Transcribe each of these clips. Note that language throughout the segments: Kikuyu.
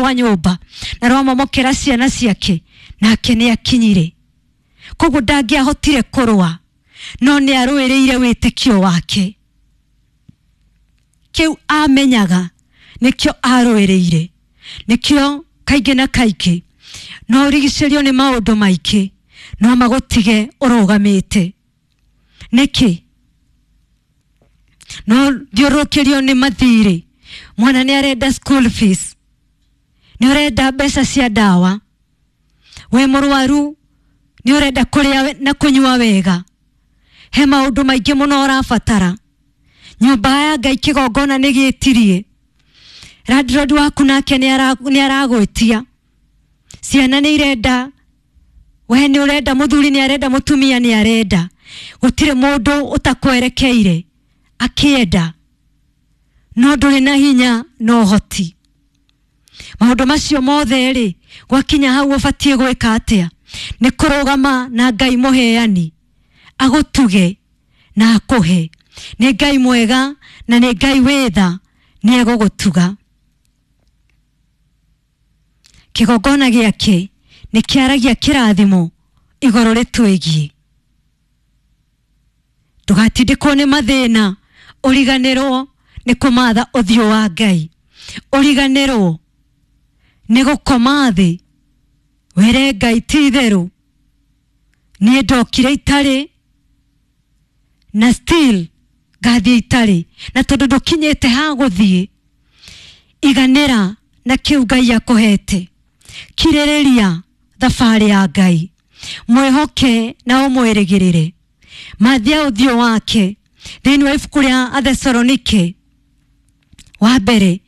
rwa nyũmba na rwamomokera ciana ciake, nake nĩ akinyire. Koguo ndangĩahotire kũrũa, no nĩ arũĩrĩire wĩtĩkio wake. Kĩu amenyaga nĩkĩo arũĩrĩire, nĩkĩo kaingĩ na kaingĩ no ũrigicĩrio nĩ maũndũ maingĩ no magũtige ũrũgamĩte. Nĩkĩ? No thiũrũrũkĩrio nĩ mathirĩ, mwana nĩ arenda school fees, nĩ ũrenda mbeca cia ndawa, wĩ mũrwaru nĩ ũrenda kũrĩa na kũnyua wega, he maũndũ maingĩ mũno ũrabatara. Nyũmba ya Ngai kĩgongona nĩ gĩtirie, landlord waku nake nĩ aragwĩtia, ciana nĩ irenda, we nĩ ũrenda, mũthuri nĩ arenda, mũtumia nĩ arenda, gũtirĩ mũndũ ũtakwerekeire akĩenda, no ndũrĩ na hinya na ũhoti. Maũndũ macio mothe rĩ, gwakinya hau ũbatiĩ gwĩka atĩa? Nĩ kũrũgama na Ngai mũheani agũtuge na akũhe. Nĩ Ngai mwega na nĩ Ngai wĩ tha, nĩ egũgũtuga. Kĩgongona gĩake nĩ kĩaragia kĩrathimo igũrũ rĩtwĩgiĩ. Ndũgatindĩkwo nĩ mathĩna ũriganĩrwo nĩ kũmatha ũthiũ wa Ngai, ũriganĩrwo nĩ gũkoma thĩ wĩre Ngai ti itherũ niĩ ndokire itarĩ na still ngathiĩ itarĩ, na tondũ ndũkinyĩte ha gũthiĩ, iganĩra na kĩu Ngai akũhete. Kirĩrĩria thabarĩ ya Ngai, mwĩhoke na ũmwĩrĩgĩrĩre. Mathia ũthiũ wake. Thĩinĩ wa ibuku rĩa Athesalonike wa mbere,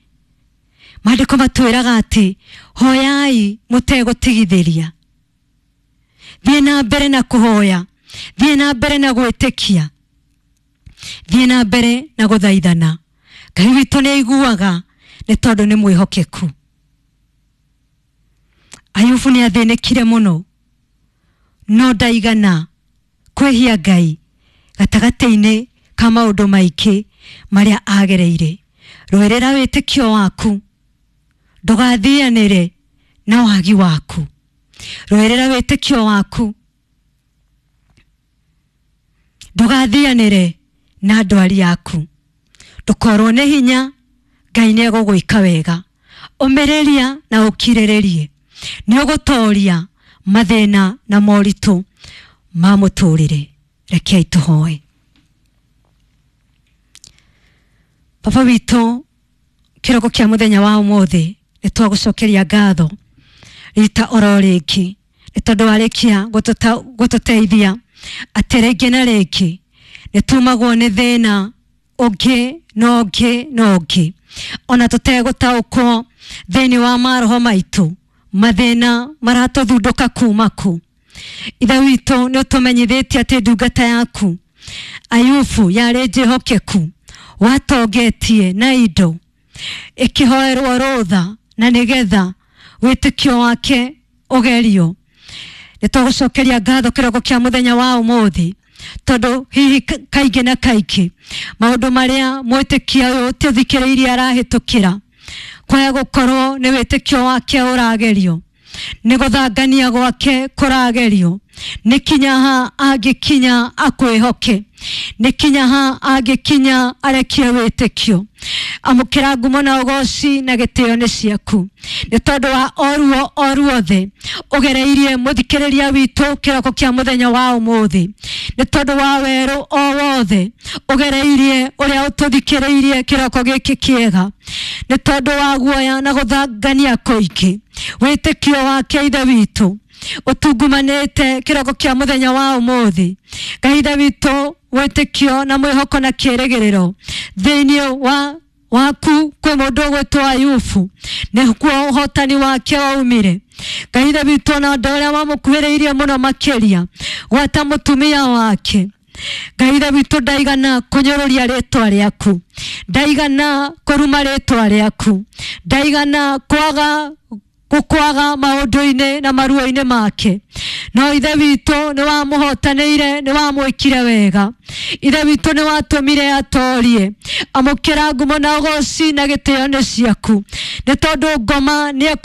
maandĩko matwĩraga atĩ hoyai mũtegũtigithĩria. Thiĩ na mbere na kũhoya, thiĩ na mbere na gwĩtĩkia, thiĩ na mbere na gũthaithana. Ngai witũ nĩ aiguaga nĩ tondũ nĩ mwĩhokeku. Ayubu nĩ athĩnĩkire mũno, no ndaigana kwĩhia Ngai gatagatĩ-inĩ ka maũndũ maingĩ marĩa agereire. Rũĩrĩra wĩtĩkio waku, ndũgathianĩre na wagi waku. Rũĩrĩra wĩtĩkio waku, ndũgathianĩre na ndwari yaku. Ndũkorwo nĩ hinya, Ngai nĩ egũgwĩka wega. Ũmĩrĩria na ũkirĩrĩrie, nĩ ũgũtoria mathĩna na moritũ ma mũtũrĩre. Rekei tũhoe. Baba witũ, kĩroko kĩa mũthenya wa ũmũthĩ nĩ twagũcokeria ngatho rita oro rĩngĩ nĩ tondũ warĩkia gũtũteithia atĩ rĩngĩ na rĩngĩ nĩ tumagwo nĩ thĩna ũngĩ na ũngĩ na ũngĩ, ona tũtegũtaũkwo thĩinĩ wa maroho maitũ, mathĩna maratũthundũka kuma kũ. Ithe witũ nĩ ũtũmenyithĩtie atĩ ndungata yaku Ayubu yarĩ njĩhokeku, watongetie na indo, ĩkĩhoerwo rũtha na nĩgetha wĩtĩkio wake ũgerio. Nĩ twagũcokeria ngatho kĩroko kĩa mũthenya wa ũmũthĩ, tondũ hihi kaingĩ na kaingĩ maũndũ marĩa mwĩtĩkia ũyũ tũthikĩrĩirie arahĩtũkĩra, kwaya gũkorwo nĩ wĩtĩkio wake ũragerio, nĩ gũthangania gwake kũragerio, nĩ kinya ha angĩkinya akwĩhoke, nĩ kinya ha angĩkinya arekie wĩtĩkio. Amũkĩra ngumo na ũgoci na gĩtĩo nĩ ciaku, nĩ tondũ wa oruo oruothe ũgereirie mũthikĩrĩria witũ kĩroko kĩa mũthenya wa ũmũthĩ, nĩ tondũ wa werũ o wothe ũgereirie ũrĩa ũtũthikĩrĩirie kĩroko gĩkĩ kĩega, nĩ tondũ wa guoya na gũthangania kũingĩ wĩtĩkio wake Ithe witũ ũtungumanĩte kĩroko kĩa mũthenya wa ũmũthĩ. Ngai Ithe witũ, wĩtĩkio na mwĩhoko na kĩĩrĩgĩrĩro thĩinĩ wa waku kwĩ mũndũ ũgwĩtwo Ayubu, nĩkuo ũhotani wake waumire. Ngai Ithe witũ, na andũ arĩa mamũkuhĩrĩirie mũno makĩria, gwata mũtumia wake, Ngai Ithe witũ ndaigana kũnyũrũria rĩtwa rĩaku, ndaigana kũruma rĩtwa rĩaku, ndaigana kwaga gũkwaga maũndũ-inĩ na maruo-inĩ make, no Ithe witũ nĩ wamũhotanĩire, nĩ wamwĩkire wega. Ithe witũ nĩ watũmire atorie. Amũkĩra ngumo na ũgoci na gĩtĩo nĩ ciaku, nĩ tondũ ngoma nĩ